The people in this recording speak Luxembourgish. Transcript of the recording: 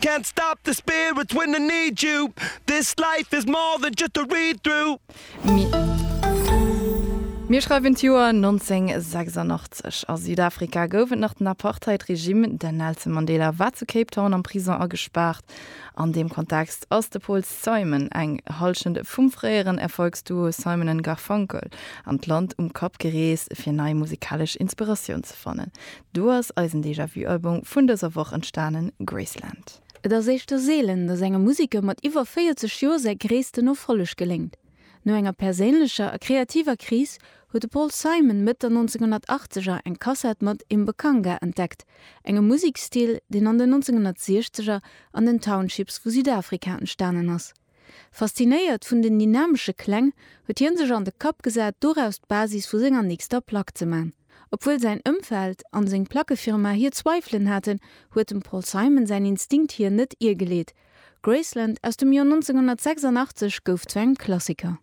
Can't stop the spirits when they need you This life is more than just a read through. Mir schreiwen d'Joer 1986. A Südafrika gouf et nach den Apartheid-Regime. Den Nelson Mandela war zu Cape Town am Prison agespaart. An deem Kontext ass de Paul Simon, eng Hallschent vum fréieren Erfolgsduo Simon and Garfunkel, an d'Land um Kapp gereest, fir nei musikalesch Inspiratioun ze fannen. Do ass eisen Déjà-vu-Album vun dëser Woch entstanen, Graceland. Et ass éischter seelen, datt engem Museker mat iwwer 40 Joer säi gréissten Erfolleg geléngt. No enger perséinlecher a kreativer Kris huet de Paul Simon Mëtt der 1980er eng Kassett mat Imbekanga entdeckt, engem Musekstil, deen an den 1960er an den Townships vu Südafrika entstanen ass. Faszinéiert vun den dynamesche Kläng huet hien sech an de Kapp gesat, doraus d'Basis vu senger nächster Plack ze man. Obwuel säin Ëmfeld an seng Plackefirma hir Zweifelen haten, huet dem Paul Simon säin Instinkt hien net iergeleet. Graceland aus dem Joer 1986 gouf zu engem Klassiker.